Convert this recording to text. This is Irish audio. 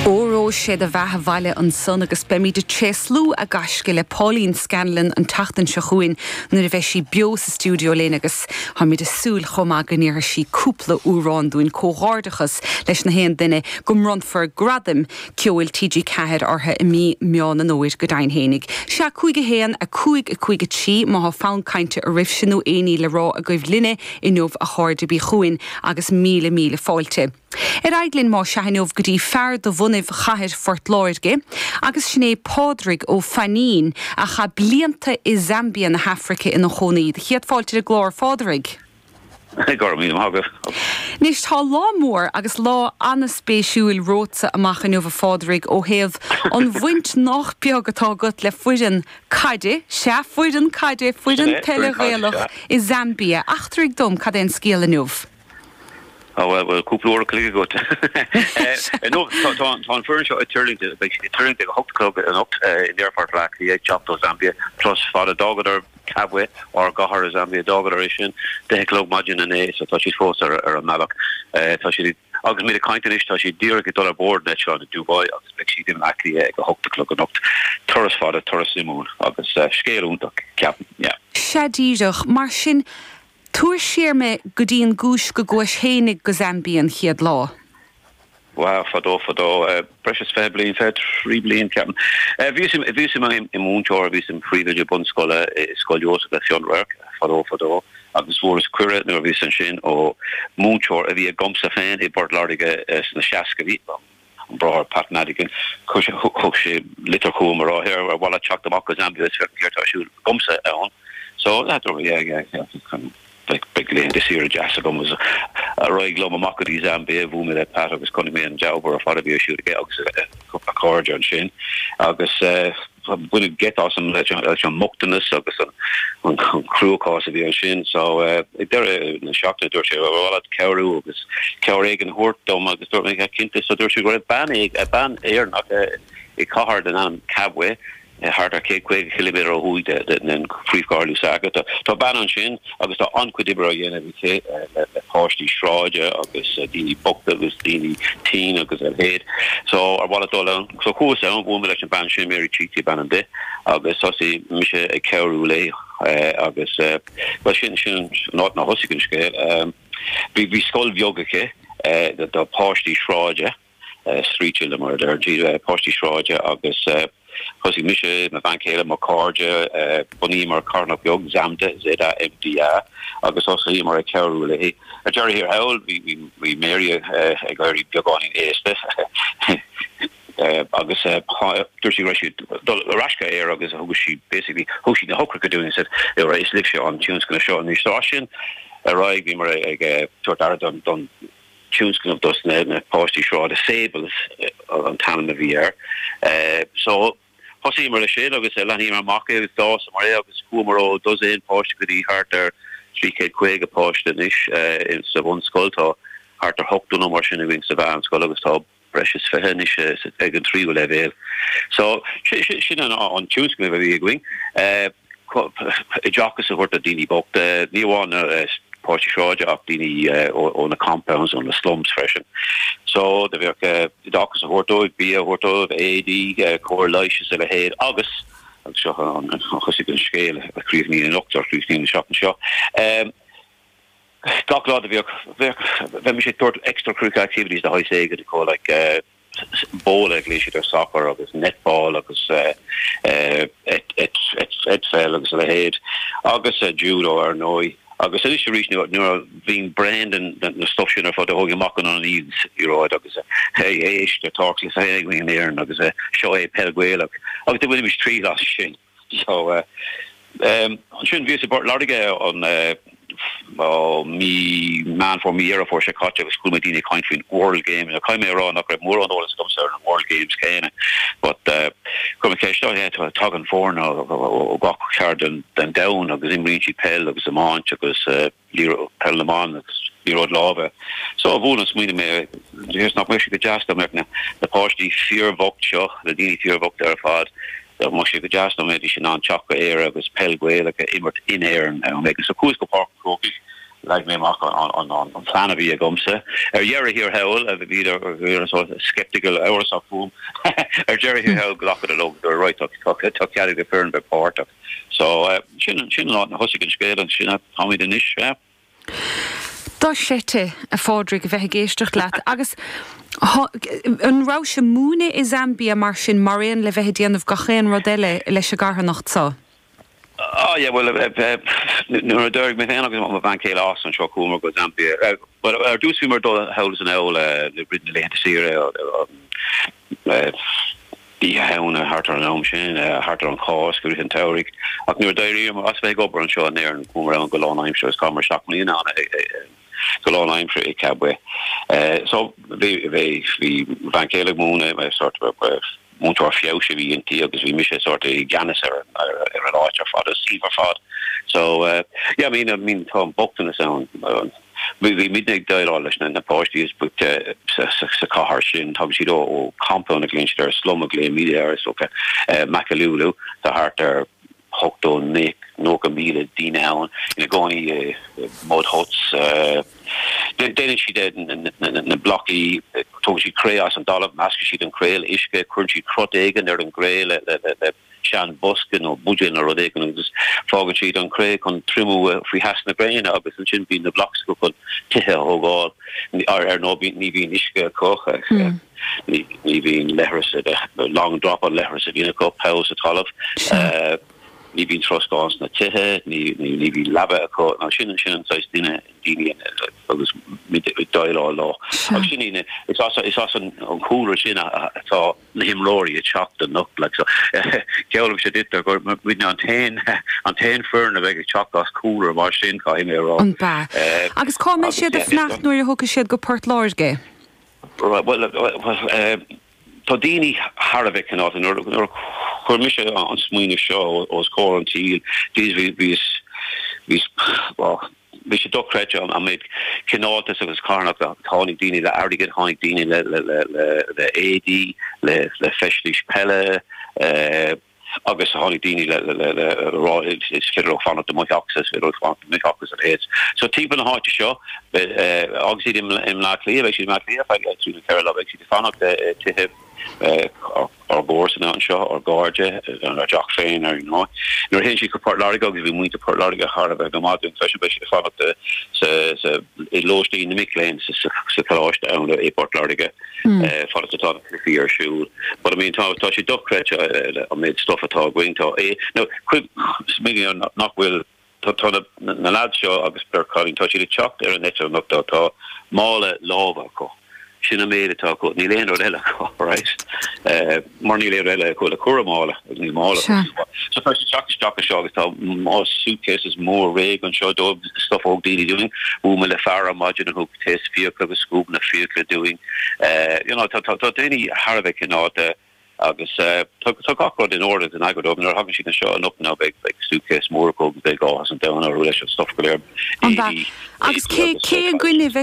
Óró sé do bheatha 'bhaile ansan agus beimid ag tréaslú a gaisce le Pauline Scanlon an tseachtain seo chugainn nuair a bheidh sí beo sa stiúideo linn agus táimid ag súil chomh maith go ndéarfaidh sí cúpla amhrán dúinn. Comhghairdeachas leis na haon duine go mbronnfar Gradaim Ceoil TG4 orthu i mí Meán an Fhómhair go deimhin fhéinig. Sea, 5 1, 5 5 3, má thá fonn cainte oraibhse nó aon ní le rá agaibh linne inniu a chairde bí chugainn agus míle míle fáilte. Ar aghaidh linn más ea inniu go dtí fear de bhunaibh chathair Phort Láirge agus sin é Pádraig Ó Fainín a chaith blianta i Zambia na hAfraice ina chónaí. Do chéad fáilte ar an gclár, a Phádraig. Go raibh míle maith agat. Anois tá lá mór agus lá an-spéisiúil romhatsa amach inniu a Phádraig ó thaobh an bhaint nách beag atá agat le foireann caide, sea foireann caide, foireann peile Ghaelach i Zambia. Eachtraigh dom cad é an scéal inniu. Á bhuel, bhuel, cúpla uair a chloig agat. Inniu, tá, tá, tá an foireann seo ag tuirlingt, beidh siad ag tuirlingt ag a hocht a chlog anocht in Aerfort Bhaile Átha Cliath ag teacht ó Zambia, turas fada. D'fhágadar Kabwe, ár gcathair i Zambia, d'fhágadar é sin deich a chlog maidin inné, so tá siad fós ar, ar an mbealach. Tá siad ag, agus muid ag caint anois, tá siad díreach ag dul ar bord an eitleáin i Dubai agus beidh siad i mBaile Átha Cliath ag a hocht a chlog anocht. Turas fada, turas suimiúil agus scéal iontach, ceapaim, yeah. Sea díreach, mar sin, Tabhair siar mé go dtí an gcúis go gcuais fhéinig go Zambia an chéad lá. Wow, fadó, fadó, breis is 20 bliain, 23 bliain, ceapaim. Bhíos i, bhíos i mo mhúinteoir, bhíos im phríomhoide bunscoile i Scoil Iósaef le Fionnradharc, fadó, fadó, agus fuaireas cuireadh nuair a bhíos ansin ó mhúinteoir a bhí agamsa féin i bPort Láirge sna seascaidí, an Bráthair Pat Madigan, thug sé litir chugam a rá, here, ar mhaith leat teacht amach go Zambia is féachaint céard tá ar siúl agamsa ann. So, dúirt mé, yeah, yeah, yeah, beidh laethanta saoire deas agam agus ar aghaidh liom amach go dtí Zambia, bhuail mé le Pat agus chonaic mé an dea-obair ar fad a bhí ar siúl aige agus a chairde ansin agus Baineadh geit asam leis an mbochtanas agus an cruachás a bhí ansin. So ag deireadh na seachtaine dúirt sé, ar mhaith leat cabhrú agus cabhair éigin a thabhairt dom agus dúirt mé, cinnte. So dúirt sé go raibh bean, bean Éireannach i cathair den ainm Kabwe, thart ar 150 ciliméadar ó thuaidh den phríomhchathair Lusaka. Tá bean ansin agus tá an-chuid oibre á dhéanamh aici le páistí sráide agus daoine bochta agus daoine tinn agus a leithéid. So ar mhaith leat dul ann? So chuas ann, bhuail mé leis an bhean sin, Mary Chiti ab ainm di, agus thosaigh mise ag cabhrú léi agus bhuel sin sin an áit inar thosaigh an scéal. Bhí bhí scoil bheag aici do pháistí sráide. street children mar a deir siad, páistí sráide agus thosaigh mise, mo bhean chéile, mo chairde, bhunaíomar carthanacht beag, Zamda, Z-A-M-D-A, agus thosaíomar ag cabhrú léi. Ar deireadh thiar thall, bhí Mary ag éirí beagáinín aosta agus dúirt sí go raibh sí ag dul ar ais go Éire agus thug sí basically, thug sí na heochracha dúinn and said, is libhse an tionscnamh seo anois. So as sin ar aghaidh bhíomar ag tabhairt aire don tionscnamh dos na páistí sráide, Sables an t-ainm a bhí air. So thosaíomar leis sin agus leathnaíomar amach é agus d'fhásamar é agus chuamar ó dosaen páiste go dtí thart ar 350 páiste anois sa bhunscoil. Tá thart ar 80 nó mar sin againn sa mheánscoil agus tá breis is 20 anois ag an tríú leibhéal. So sin an tionscnamh a bhí againn, oideachas a thabhairt do daoine bochta, ní amháin na páistí sráide ach daoine ó na compounds, ó na slums freisin. So do bheadh oideachas a thabhairt dóibh, bia a thabhairt dóibh, éadaí, cóir leighis is a leithéid agus, agus seo an thosaigh an scéal a chríochnaíonn anocht, or a chríochnaíonn an seachtain seo, Gach lá do bhíodh, bheadh, bheimis ag tabhairt extra-curricular activities de shaghas éigin acu, like bóla a ghlaoigh siad ar soccer agus netball agus eitpheil agus a leithéid agus judo ar ndóigh. Agus anois arís nuair a bhínn bréan den na stuff sin ar fad do thógainn amach an liathróid agus hey éist tá cluiche againn in Éirinn agus seo é peil Gaelach agus do bhainimis triail as sin. So, ansin bhíos i bPort Láirge an mí Meán Fómhair, mí Dheireadh Fómhair seo caite agus chuala mé daoine ag caint faoin World Games. Now caithfidh mé a rá nach raibh mórán eolas agamsa ar an World Games céanna but chuir mé ceist, oh yeah, tagann foirne ó gach ceard den domhan agus imríonn siad peil agus iomáint agus peil na mban agus liathróid láimhe. So bhuail an smaoineamh mé, is nach mbeadh sé go deas dá mbeadh na páistí fíorbhocht seo, na daoine fíorbhochta ar fad, dá mbeadh sé go deas dá mbeidís in ann teacht go Éire agus peil Ghaelach a imirt in Éirinn am éigin. So chuas go Páirc an Chrócaigh. Leag mé amach an plean a bhí agamsa. Ar dheireadh thiar thall, bhíodar sort of sceptical, amhrasach fúm. Ar deireadh thiar thall, ghlacadar leo, dúradh right, tá cead ag na foireann bheith páirteach. So, sin an áit a thosaigh an scéal agus sin áit táimid anois, yeah. Dochreidte, a Phádraig, a bheith ag éisteacht leat. Agus an rabhais ag múineadh i Zambia mar sin, mar aon le bheith ag déanamh gach aon rud eile leis an gcarthanacht so? Ah yeah, bhuel, nuair a d'éirigh mé féin agus mo bhean chéile as anseo, chuamar go Zambia. Bhuel, ar dtús bhíomar ag dul thall is anall i rith na laethanta saoire, Oíche Shamhna, thart ar an am sin, thart ar an Cháisc, i rith an tsamhraidh. Ach nuair a d'éiríomar as bheith ag obair anseo in Éirinn, chuamar ann go lánaimseartha agus chaitheamar 7 mbliana ann go lánaimseartha i Kabwe. So, bhí, bhí, bhí mo bhean chéile ag múineadh, sort of, múinteoir feabhais a bhí inti agus bhí mise sort of i gceannas ar ar an áit ar fad, an suíomh ar fad. So yeah, I mean, I mean tá an bochtanas ann. Bhí bhí muidne ag déileáil leis na na páistí is boichte sa sa sa chathair sin. Tagann siad ó ó compound a ghlaonn siad air, slum a ghlaoimid air is dócha, Makululu. Tá thart ar 80, 90,000 daoine ann ina gcónaí i mud huts. Déanann siad na blocaí, tógann siad cré as an dtalamh, meascann siad an cré le uisce, cuireann siad crot éigin ar an gcré le sean bosca nó buidéal nó rud éigin agus fágann siad an cré chun triomú faoi theas na gréine agus ansin bíonn na blocks acu chun tithe a thógáil. Ar ndóigh ní bhíonn uisce acu. Ní bhíonn leithreas, long drop an leithreas a bhíonn acu, poll sa talamh. Ní bhíonn troscán sna tithe, ní bhíonn leaba acu. Nó sin sin an saghas duine, daoine agus muid ag déileáil leo. Agus sin iad, is as is as an chúlra sin atá na himreoirí ag teacht anocht. Like so, geallaimse duit gur muidne an t-aon an t-aon foireann a bheidh ag teacht as cúlra mar sin, caithfidh mé a rá. An b'ea? Agus cá mbeidh siad ag fanacht nuair a thiocfaidh siad go Port Láirge? Bhuel, tá daoine thar a bheith cineálta. Nuair a chuir mise an smaoineamh seo os comhair an tsaoil, bhí, bhí, bhuel, bhí sé dochreidte an méid cineáltas agus carthanachta. Tháinig daoine le airgead, tháinig daoine le éadaí, le feistis peile, agus tháinig daoine le rá is féidir leo fanacht i mo theachsa, is féidir leo fanacht i mo theach agus a leithéid. So timpeall na háite seo, agus iad i mBleá Cliath, beidh siad i mBleá Cliath ar feadh trí nó ceithre lá, beidh siad ag fanacht i tithe ár gcomharsana anseo, ár gcairde, ár dteach féin ar ndóigh. Nuair a théann siad go Port Láirge agus bhí muintir Port Láirge thar a bheith go maith dúinn freisin, beidh siad ag fanacht i lóistín na mic léinn sa choláiste ann i bPort Láirge. fad is atá na cluichí ar siúl. But I mean tá tá sé dochreidte an méid stuff atá againn. Tá é now smaoinigh nach bhfuil tá tá na na lads seo agus beirt chailín tá siad ag teacht ar an eitilt anocht tá tá mála láimhe acu. Sin an méid atá acu. Níl aon rud eile acu, right? Mar níl aon rud eile acu le cur i mála agus níl mála acu. So tá siad ag teacht isteach anseo agus tá má suitcases mór réidh anseo dóibh, stuff a thug daoine dúinn. Bhuail mé le fear ar maidin a thug taos fiacla agus scuabanna fiacla dúinn. You know, tá daoine thar a bheith cineálta agus tá gach rud in ord agus in eagar dóibh. Nuair a thagann siad anseo anocht now beidh suitcase mór acu agus beidh áthas an domhain orthu leis an stuff go léir, éadaí, Agus cé cé againn a bheidh.